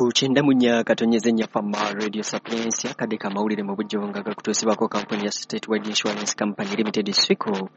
Ku 94.4 Fama Radio Sapientia, akadde k'amawulire mu bujjuvu nga gakutuusibwako kampuni ya State Wide Insurance Company Limited, SWICO,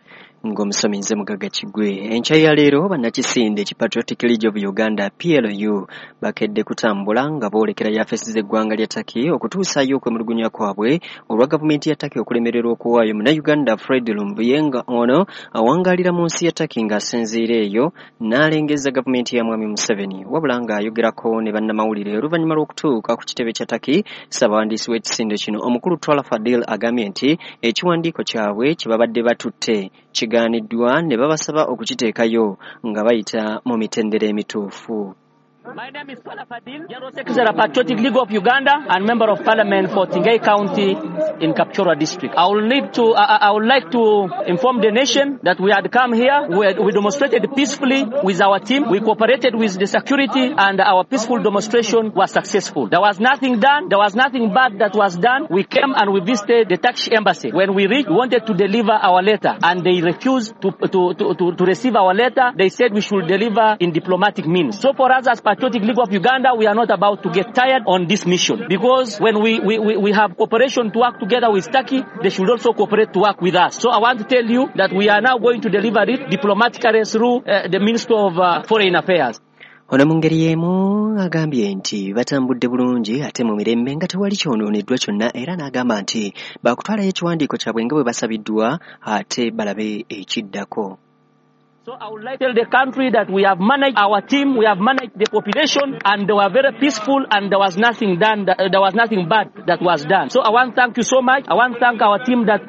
ng'omusomi nze Mugagga Kigwe. Enkya ya leero bannakisinde ki Patriotic League of Uganda, PLU, bakedde kutambula nga boolekera yafesi z'eggwanga lya Turkey okutuusaayo okwemulugunya kwabwe olwa gavumenti ya Turkey okulemererwa okuwaayo Munnayuganda Fred Lumbuye, nga ono awangaalira mu nsi ya Turkey ng'asinziira eyo n'alengeza gavumenti ya Mwami Museveni. Wabula ng'ayogerako ne bannamawulire oluvannyuma lw'okutuuka ku kitebe kya Turkey, ssabawandiisi w'ekisinde kino omukulu Twala Fadil agambye nti ekiwandiiko kyabwe kye babadde batutte kigaaniddwa ne babasaba okukiteekayo nga bayita mu mitendera emituufu. My name is Twala Fadil, General Secretary of Patriotic League of Uganda and Member of Parliament for Tingay County in Kapchorwa District. I would like to inform the nation that we had come here, we demonstrated peacefully with our team, we cooperated with the security, and our peaceful demonstration was successful. There was nothing done, there was nothing bad that was done. We came and we visited the Turkish embassy. When we reached, we wanted to deliver our letter, and they refused to receive our letter. They said we should deliver in diplomatic means. So for us as Patriotic League of Uganda, we are not about to get tired on this mission, because when we have cooperation to work together with Turkey, they should also cooperate to work with us. So I want to tell you that we are now going to deliver it diplomatically through the Minister of Foreign Affairs. Ono mu ngeri y'emu agambye nti batambudde bulungi ate mu mirembe nga tewali kyonooneddwa kyonna, era n'agamba nti baakutwalayo ekiwandiiko kyabwe nga bwe basabiddwa ate balabe ekiddako. So I would like to tell the country that we have managed our team, we have managed the population, and they were very peaceful, and there was nothing done, there was nothing bad that was done. So I want to thank you so much. I want to thank our team that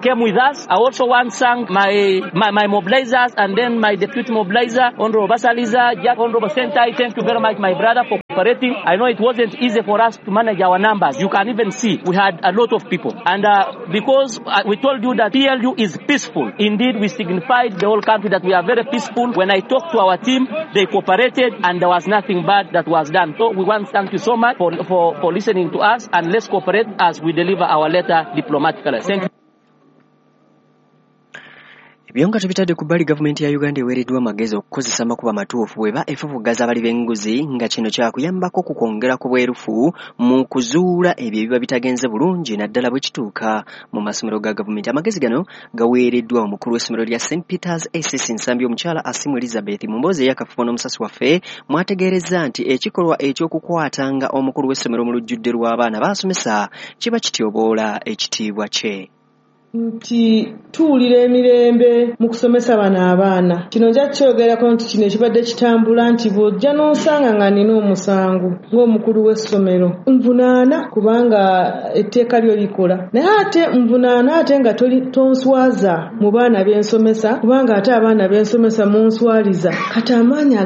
came with us. I also want to thank my mobilizers and then my deputy mobilizer, Honorable Basaliza, Jack, Honorable Sentai. Thank you very much, my brother, for cooperating. I know it wasn't easy for us to manage our numbers. You can even see we had a lot of people. And because we told you that PLU is peaceful, indeed we signified the whole country that we are very peaceful. When I talked to our team, they cooperated and there was nothing bad that was done. So we want to thank you so much for listening to us, and let's cooperate as we deliver our letter diplomatically. Thank you. Ebyo nga tubitadde ku bbali, gavumenti ya Uganda eweereddwa amagezi okukozesa amakubo amatuufu bw'eba efufugaza abali b'enguzi, nga kino kyakuyambako ku kwongera ku bwerufu mu kuzuula ebyo ebiba bitagenze bulungi, naddala bwe kituuka mu masomero ga gavumenti. Amagezi gano gaweereddwa omukulu w'essomero lya St Peters SS Nsambi, omukyala Asimu Elizabeth, mu mboozi ey'akafubo n'omusasi waffe, mwategeerezza nti ekikolwa ekyokukwatanga omukulu w'essomero mu lujjudde lw'abaana baasomesa kiba kityoboola ekitiibwa kye. Nti tuwulira emirembe mu kusomesa bano abaana. Kino nja kukyogerako nti kino ekibadde kitambula nti bw'ojja n'onsanga nga nina omusango ng'omukulu w'essomero, nvunaana kubanga etteeka lyo likola, naye ate nvunaana ate nga tonswaza mu baana b'ensomesa, kubanga ate abaana b'ensomesa munswaliza. Kati amaanyi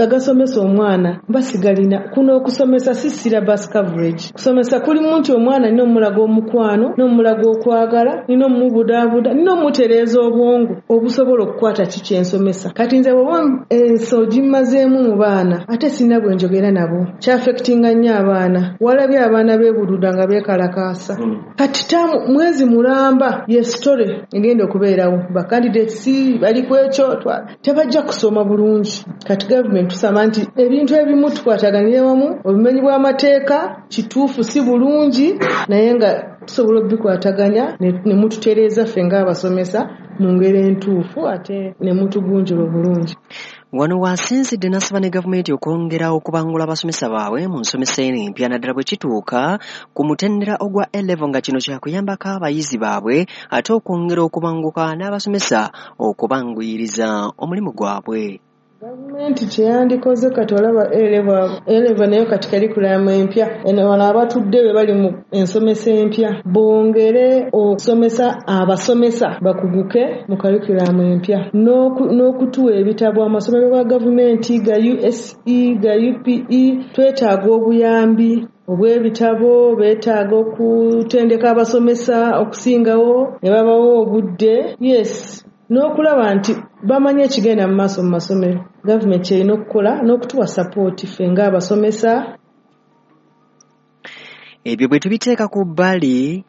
agasomesa omwana basigalina. Kuno okusomesa si syllabus coverage. Kusomesa kulimu nti omwana nina omulaga omukwano, n'omulaga okwagala, nina omubudaabuda, nina omutereeza obwongo obusobola okukwata ki kyensomesa. Kati nze bw'oba enso gimmazeemu mu baana, ate sirina bwe njogera nabo, kyafectinga nnyo abaana. Walabye abaana beebuluda nga beekalakaasa. Kati taamu mwezi mulamba ye story egenda okubeerawo. Ba candidates bali ku ekyo tebajja kusoma bulungi. Kati gavumenti tusaba nti ebintu ebimu tukwataganire wamu, obumenyi bw'amateeka kituufu si bulungi, naye nga tusobola okubikwataganya ne mututereeza ffe ng'abasomesa mu ngeri entuufu ate ne mutugunjula obulungi. Wano waasinzidde n'asaba ne gavumenti okwongera okubangula abasomesa baabwe mu nsomesa eno empya, naddala bwe kituuka ku mutendera ogwa A-level, nga kino kyakuyambako abayizi baabwe ate okwongera okubanguka n'abasomesa okubanguyiriza omulimu gwabwe. Gavumenti kyeyandikoze kati olaba A-level nayo kati curriculum empya, eno wano abatudde be bali mu ensomesa empya bongere okusomesa abasomesa bakuguke mu curriculum empya, n'okutuwa ebitabo amasomero ga gavumenti ga USE ga UPE. Twetaaga obuyambi obw'ebitabo, beetaaga okutendeka abasomesa okusingawo ne babawo obudde, yes, n'okulaba nti bamanyi ekigenda mu maaso mu masomero. Gavumenti erina okukola n'okutuwa sapooti ffe ng'abasomesa. Ebyo bwe tubiteeka ku bbali,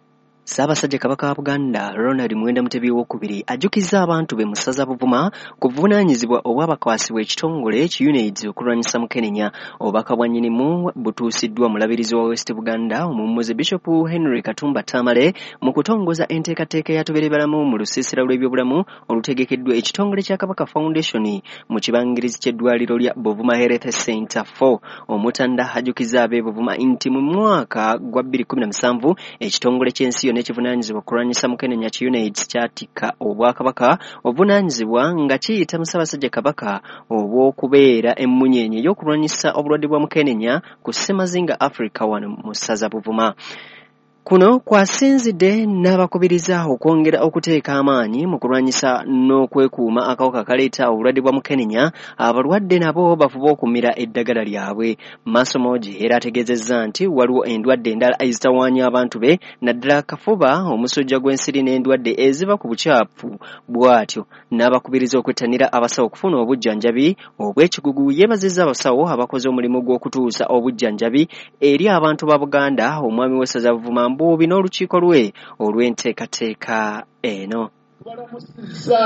Ssaabasajja Kabaka wa Buganda Ronald Muwenda Mutebi owookubiri ajjukizza abantu be mu ssaza Buvuma ku buvunaanyizibwa obwabakwasibwa ekitongole ki UNAIDS okulwanyisa mukenenya. Obubaka bwa nnyinimu butuusiddwa mulabirizi wa West Buganda omummuze Bishop Henry Katumba Tamale mu kutongoza enteekateeka ya Tubeere Balamu mu lusiisira lw'ebyobulamu olutegekeddwa ekitongole kya Kabaka Foundation mu kibangirizi ky'eddwaliro lya Buvuma Health Center 4. Omutanda ajjukizza ab'e Buvuma nti mu mwaka gwa 2017 ekitongole ky'ensi yonna ekivunaanyizibwa okulwanyisa mukenenya ki UNAIDS kyatikka Obwakabaka obuvunaanyizibwa nga kiyita mu Ssaabasajja Kabaka obw'okubeera emmunyeenye ey'okulwanyisa obulwadde bwa mukenenya ku Ssemazinga Africa wano mu ssaza Buvuma. Kuno kwasinzidde n'abakubiriza okwongera okuteeka amaanyi mu kulwanyisa n'okwekuuma akawuka akaleeta obulwadde bwa mukenenya, abalwadde nabo bafube okumira eddagala lyabwe. Masomogi era ategeezezza nti waliwo endwadde endala ezitawaanya abantu be naddala akafuba, omusujja gw'ensiri n'endwadde eziva ku bukyafu, bw'atyo n'abakubiriza okwettanira abasawo okufuna obujjanjabi obw'ekikugu. Yeebazizza abasawo abakoze omulimu gw'okutuusa obujjanjabi eri abantu ba Buganda, omwami w'essaza Buvuma Mbuubi n'olukiiko lwe olw'enteekateeka eno. Tubalamusizza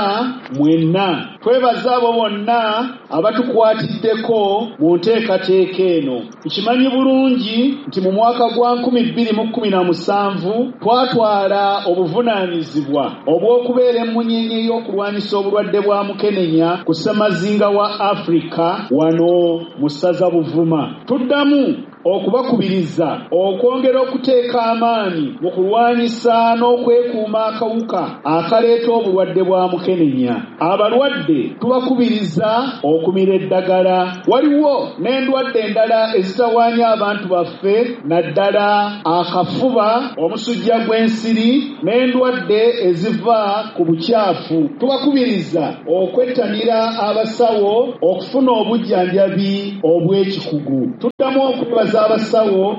mwenna, twebaza abo bonna abatukwatiddeko mu nteekateeka eno. Nkimanyi bulungi nti mu mwaka gwa 2017 twatwala obuvunaanyizibwa obw'okubeera emmunyeenye y'okulwanyisa obulwadde bwa mukenenya ku Ssemazinga wa Afrika wano mu ssaza Buvuma. Tuddamu okubakubiriza okwongera okuteeka amaanyi mu kulwanyisa n'okwekuuma akawuka akaleeta obulwadde bwa mukenenya. Abalwadde tubakubiriza okumira eddagala. Waliwo n'endwadde endala ezitawaanya abantu baffe naddala akafuba, omusujja gw'ensiri n'endwadde eziva ku bukyafu. Tubakubiriza okwettanira abasawo okufuna obujjanjabi obw'ekikugu. Tuddamu okwebaza abasawo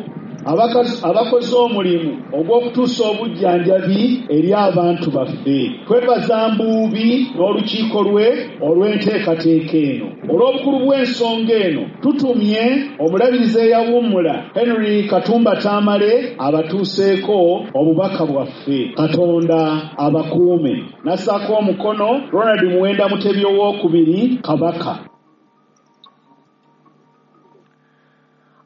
abakoze omulimu ogw'okutuusa obujjanjabi eri abantu baffe. Twebaza Mbuubi n'olukiiko lwe olw'enteekateeka eno. Olw'obukulu bw'ensonga eno tutumye omulabirizi eyawummula Henry Katumba Tamale abatuuseeko obubaka bwaffe. Katonda abakuume. Nassaako omukono Ronald Muwenda Mutebi owookubiri Kabaka.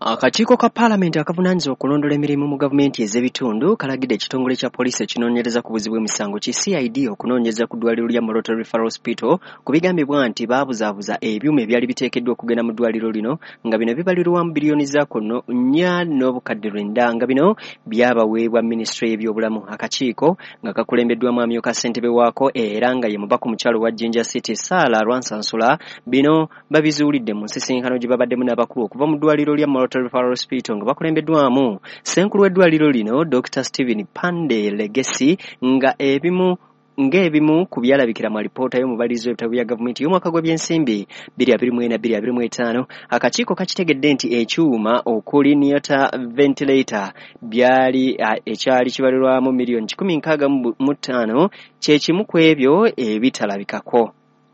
Akakiiko ka Paalamenti akavunaanyizibwa okulondoola emirimu mu gavumenti ez'ebitundu kalagidde ekitongole kya poliisi ekinoonyereza ku buzi bw'emisango ki CID okunoonyereza ku ddwaliro lya Moroto Referral Hospital ku bigambibwa nti baabuzaabuza ebyuma ebyali biteekeddwa okugenda mu ddwaliro lino nga bino bibalirwamu biliyoni za kono 4.9 nga bino byabaweebwa minisitule y'ebyobulamu. Akakiiko nga kakulembeddwamu amyuka ssentebe waako era nga ye mubaka omukyalo wa Jinja City Sarah Lwansansula, bino babizuulidde mu nsisinkano gye babaddemu n'abakulu okuva mu ddwaliro lya Moroto Referral Hospital nga bakulembeddwamu ssenkulu w'eddwaliro lino Dr. Stephen Pande Legesi nga ebimu ku byalabikira mu alipoota y'omubalirizi w'ebitabo bya gavumenti y'omwaka gw'ebyensimbi 2024-2025. Akakiiko kakitegedde nti ekyuma okuli Neota ventilator byali ekyali kibalirwamu miliyoni 165 kye kimu ku ebyo ebitalabikako.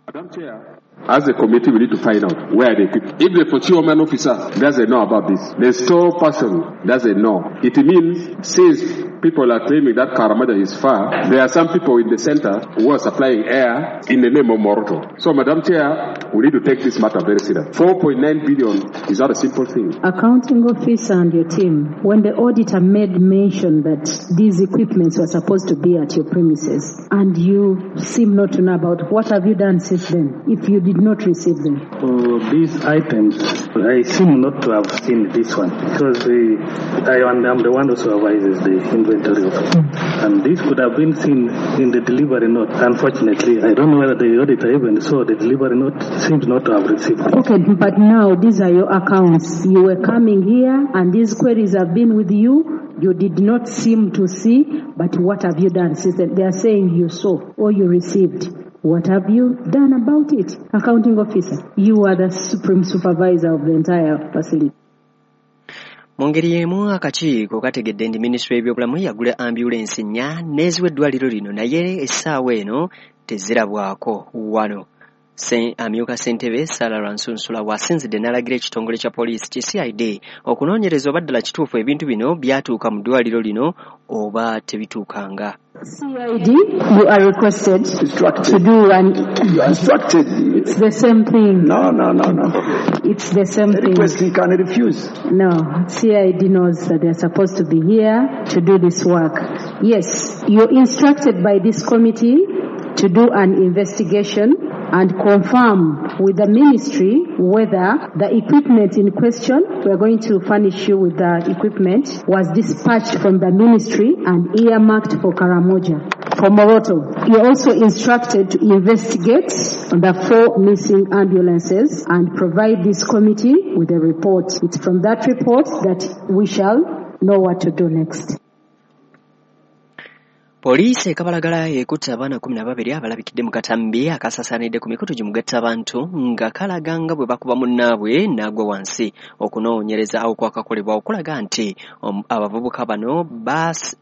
Madam Chair, as a committee, we need to find out where they keep. If the procurement officer doesn't know about this, the store person doesn't know. It means since people are claiming that Karamoja is far, there are some people in the center who are supplying air in the name of Moroto. So, Madam Chair, we need to take this matter very seriously. 4.9 billion is not a simple thing. Accounting officer and your team, when the auditor made mention that these equipments were supposed to be at your premises, and you seem not to know about, what have you done since then, if you did not receive them? For these items, I seem not to have seen this one, because I am the one who supervises the inventory of it. And this could have been seen in the delivery note. Unfortunately, I don't know whether the auditor even saw the delivery note. Seems not to have received it. Okay, but now these are your accounts. You were coming here and these queries have been with you. You did not seem to see, but what have you done since then? They are saying you saw or you received. What have you done about it? Accounting officer, you are the supreme supervisor of the entire facility. Mu ngeri y'emu akakiiko kategedde nti minisitule y'ebyobulamu yagula ambulensi 4 n'eziwa eddwaliro lino, naye essaawa eno tezirabwako wano. Amyuka ssentebe Sarah Lwansunsula bw'asinzidde n'alagira ekitongole kya poliisi ki CID okunoonyereza oba ddala kituufu ebintu bino byatuuka mu ddwaliro lino oba tebituukanga. CID, you are requested to do an... You are instructed. It's the same thing. No. It's the same thing. Request he can refuse. No, CID knows that they are supposed to be here to do this work. Yes, you're instructed by this committee to do an investigation and confirm with the ministry whether the equipment in question, we are going to furnish you with the equipment, was dispatched from the ministry and earmarked for Karamoja, for Moroto. You're also instructed to investigate the 4 missing ambulances and provide this committee with a report. It's from that report that we shall know what to do next. Poliisi e Kabalagala ekutte abaana 12 abalabikidde mu katambi akasasaanidde ku mikutu gimugatta abantu nga kalaga nga bwe bakuba munnaabwe n'agwa wansi. Okunoonyereza okwakakolebwa okulaga nti abavubuka bano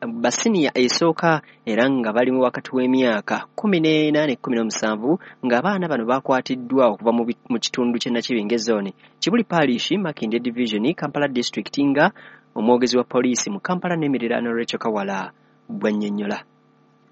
basiniya esooka era nga bali mu wakati w'emyaka 14 ne 17, ng'abaana bano bakwatiddwa okuva mu kitundu ky'e Nakibinge Zone, Kibuli Parish, Makindye Division, Kampala District, nga omwogezi wa poliisi mu Kampala n'emiriraano Rachel Kawala bwannyonnyola.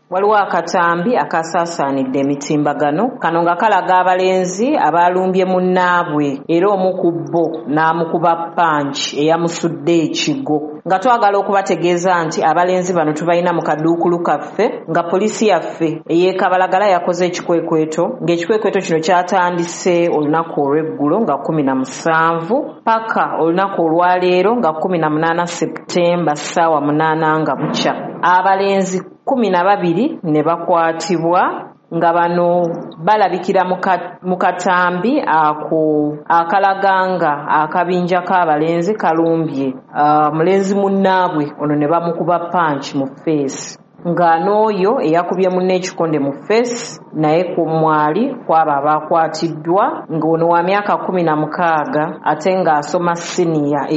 Waliwo akatambi akasaasaanidde emitimbagano kano nga kalaga abalenzi abalumbye munnaabwe era omu ku bo n'amukuba panki eyamusudde ekigo, nga twagala okubategeeza nti abalenzi bano tubalina mu kaduukulu kaffe, nga poliisi yaffe ey'e Kabalagala yakoze ekikwekweto, ng'ekikwekweto kino kyatandise olunaku olw'eggulo nga 17 paka olunaku olwaleero nga 18 Septemba ssaawa 8 nga bukya. Abalenzi 12 ne bakwatibwa nga bano balabikira mu katambi ako akalaganga akabinja k'abalenzi kalumbye mulenzi munnaabwe ono ne bamukuba panki mu feesi, nga n'oyo eyakubye munne ekikonde mu feesi naye ku mwali kwabo abakwatiddwa, ng'ono wa myaka 16 ate ng'asoma siniya.